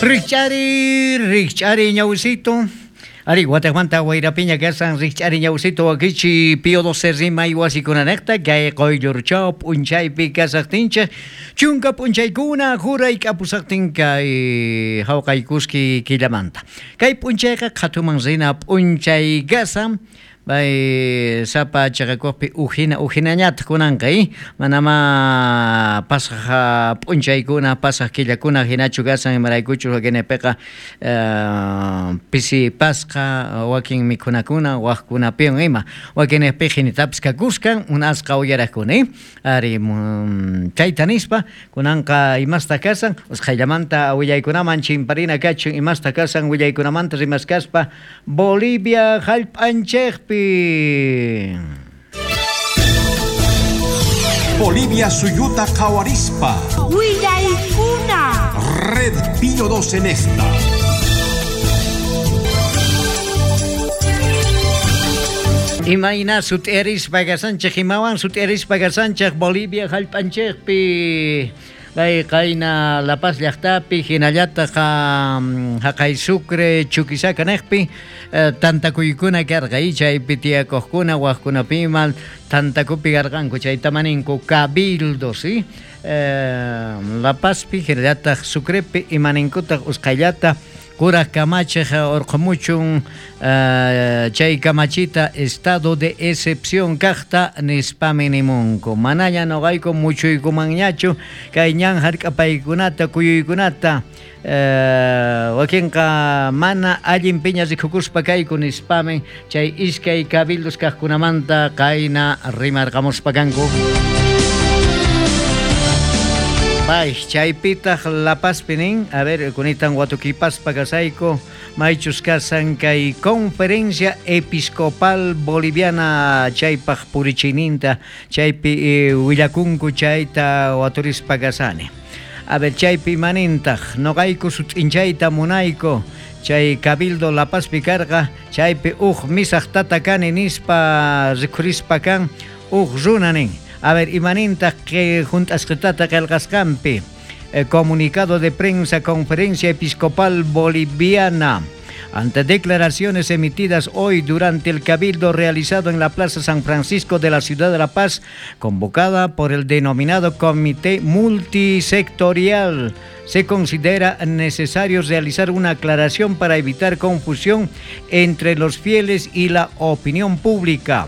Rikch'ari, rikch'ari ñawsito. Ari, wataqmanta wayrapiña kasan rikch'ari ñawsito wakichi Pío 12 rimay wasikunanejta kay quyllurchaw p'unchaypi kasaqtinchik chunka p'unchaykuna juray k'apusaqtin kay hawqaykuski killamanta. Kay p'unchayqa qhatuman rina p'unchay kasan Bay sapa chaqakuqpi ujina ujinañataq kunanqa i manamá pasaq p'unchaykuna pasaq killakuna hinachu kasan imaraykuchus wakinpiqa pisi pasqa wakin mikhunakuna waqkunapiwan ima wakinniqpi hinitapis kakuskan munasqa uyaraqkuna i ari chayta nispa kunanqa imastaq kasan usqhayllamanta willaykunaman chimparina kachun imastaq kasan willaykunamanta rimaskaspa Bolivia jallp'anchejpi. Bolivia suyuta qhawarispa. Willaykuna. Red Pío 12 en esta. Imayna sut'irispa kasanchej, imawan sut'irispa kasanchej Bolivia jallp'anchejpi. Kay qayna La Paz llaqtapi hinallataq haqay Sucre Chuquisaca niqpi tantakuykuna karqa y chaypi tiyakuqkuna waqkunapima tantakupi karqanku chayta maninku cabildo, ¿sí? La Pazpi hinallataq Sucrepi imaninkutaq usqhayllata kuraj kamachiq urqhumuchun chay kamachita estado de excepción kaqta nispami nimunku. Manaña noqayku muchuykumanñachu kay ñan hark'apaykunata kuyuykunata wakinqa mana allin piña rikukuspa kayku nispami chay iskay cabildos kaqkunamanta qayna rimarqamuspa kanku. Bay, chaypitaq La Pazpi nin, a ver, kunitan watukipaspa kasayku, maychus kasan kay Conferencia Episcopal Boliviana chaypaq purichininta, chaypi willakunku chayta waturispa kasani. A ver, chaypi manintaq, noqayku sut'inchayta munayku, chay Cabildo La Pazpi karqa, chaypi uj misaq tata kani nispa rikhurispa kan, uj runa nin. A ver, imanintaq que junt'asqitata qillqasqanpi, comunicado de prensa Conferencia Episcopal Boliviana. Ante declaraciones emitidas hoy durante el cabildo realizado en la Plaza San Francisco de la Ciudad de La Paz, convocada por el denominado Comité Multisectorial, se considera necesario realizar una aclaración para evitar confusión entre los fieles y la opinión pública.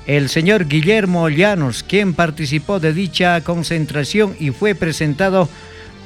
El señor Guillermo Llanos, quien participó de dicha concentración y fue presentado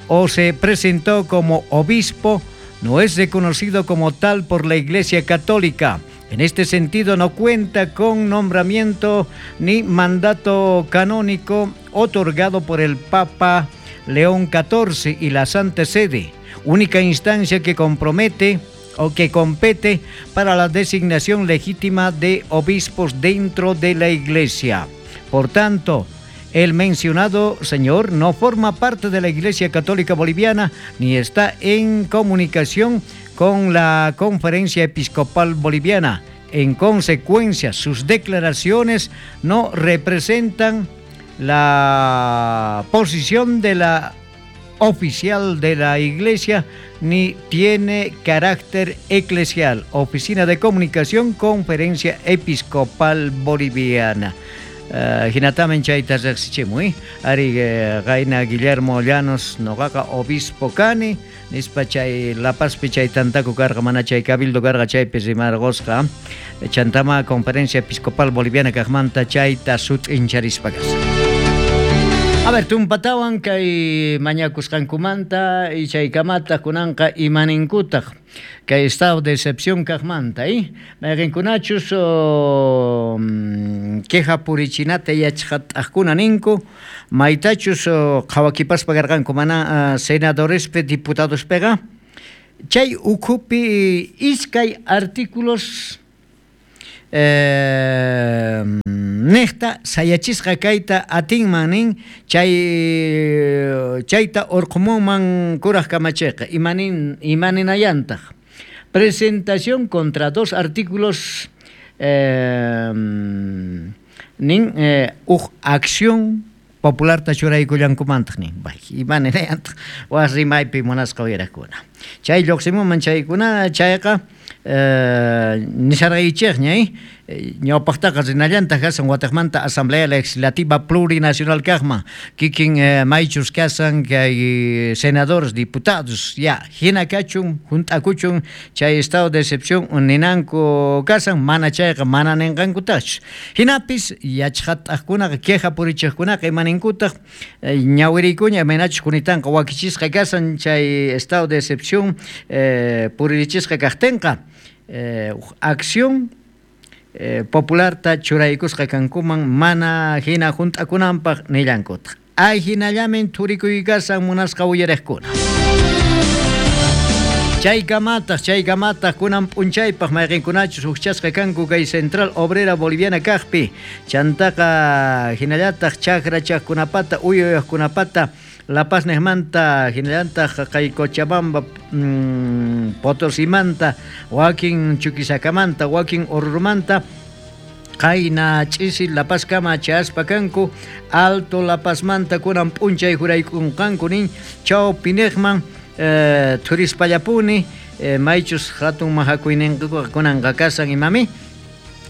o se presentó como obispo, no es reconocido como tal por la Iglesia Católica. En este sentido, no cuenta con nombramiento ni mandato canónico otorgado por el Papa León XIV y la Santa Sede, única instancia que compromete o que compete para la designación legítima de obispos dentro de la Iglesia. Por tanto, el mencionado señor no forma parte de la Iglesia Católica Boliviana ni está en comunicación con la Conferencia Episcopal Boliviana. En consecuencia, sus declaraciones no representan la posición de la oficial de la Iglesia ni tiene carácter eclesial. Oficina de Comunicación, Conferencia Episcopal Boliviana. Hinatamen chayta riqsichimuy. Ari qayna Guillermo Llanos noqaqa obispo kani nispa chay La Pazpi chay tantaku karqa mana chay cabildo karqa chaypi rimarqusqa. Chantama Conferencia Episcopal Boliviana kaqmanta chayta sut'incharispa kasqa. A ver, tumpatawan kay mañakusqankumanta y chaykamataq kunanqa imaninkutaq kay estado de excepción kaqmanta, mayqinkunachus queja purichinata yachqat'aqkuna ninku, maytachus qhawakipaspa karqanku mana senadorespi diputadospiqa, chay ukhupi iskay artículos niqta sayachisqa kayta atinman nin chay chayta urqhumunman kuraj kamachiqa imanin imaninayantaq presentación contra dos artículos nin uj acción Popularta churaykullankumantaq nin. Bay, ima ninayantaq waj rimaypi munasqa uyarajkuna. Chay lluqsimunman chaykuna chayqa nisharqaykichejña, ñawpaqtaqa rinallantaq kasan wataqmanta Asamblea Legislativa Plurinacional kaqman, kikin maychus kasan kay senadores, diputados, ya hina kachun, junt'akuchun chay estado de excepción ninanku kasan, mana chayqa mana ninqankutaqchu. Hinapis yachqat'aqkunaqa, queja purichiqkunaqa ima ninkutaq, ñawiriykuña imaynachus kunitanqa wakichisqa kasan chay estado de excepción puririchisqa kaqtinqa, acción popularta churaykusqa kankuman mana hina junt'akunanpaq nillankutaq. Ay hinallamin thurikuy kasan munasqa uyariqkuna. Chaykamataq kunan p'unchaypaq mayqinkunachus hukchasqa kanku kay Central Obrera Boliviana kaqpi, chantaqa hinallataq chakra chaqkunapata, uyuyaqkunapata, La Paz niqmanta, hinallataq kay Cochabamba, Potosimanta, wakin Chuquisakamanta, wakin Orurumanta, qayna ch'isi La Paz kama chayaspa kanku, Alto La Pazmanta kunan p'unchay juraykunqanku nin chawpiniqman, thurispallapuni, maychus hatun mahakuyninkuqa kunanqa kasan imami,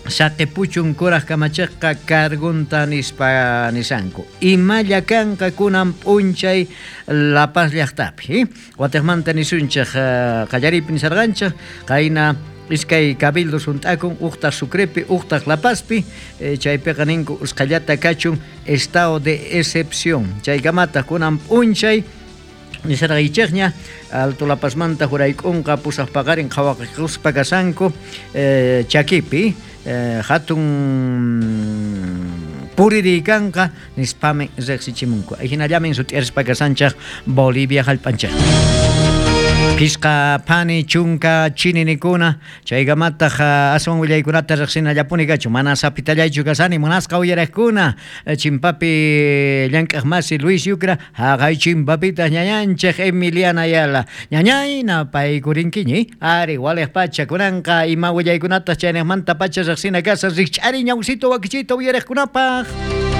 saqipuchun kuraj kamachiqqa cargunta nispa nisanku. Imalla kanqa kunan p'unchay La Paz llaqtapi, Watiqmanta nisunchej, qallariypi nisarqanchej, qayna iskay cabildos junt'akun, uqtaq Sucrepi, uqtaq La Pazpi, chaypiqa ninku usqhallata kachun estado de excepción. Chaykamataq kunan p'unchay nisarqaychejña, Alto La Pazmanta jurayk'unqa pusaq paqarin qhawaquspa kasanku, chakipi, hatun puririykanqa nispami riqsichimunku. Hinallamin sut'iarispa kasanchej Bolivia hallp'anchej. Pisqa phani chunka chininikuna, chaykamataq aswan willaykunata riqsinallapuni kachu, mana sapitallaychu kasani munasqa uyaraqkuna, chimpapi llank'aq masi Luis Yucra, haqay chimpapitaq ñañanchej Emiliana Ayala. Ñañayna paykurinkiñi, ari waliq pacha kunanqa ima willaykunataq chayniqmanta pacha riqsina kasa, rikch'ari ñawsito wakichito uyaraqkunapaq.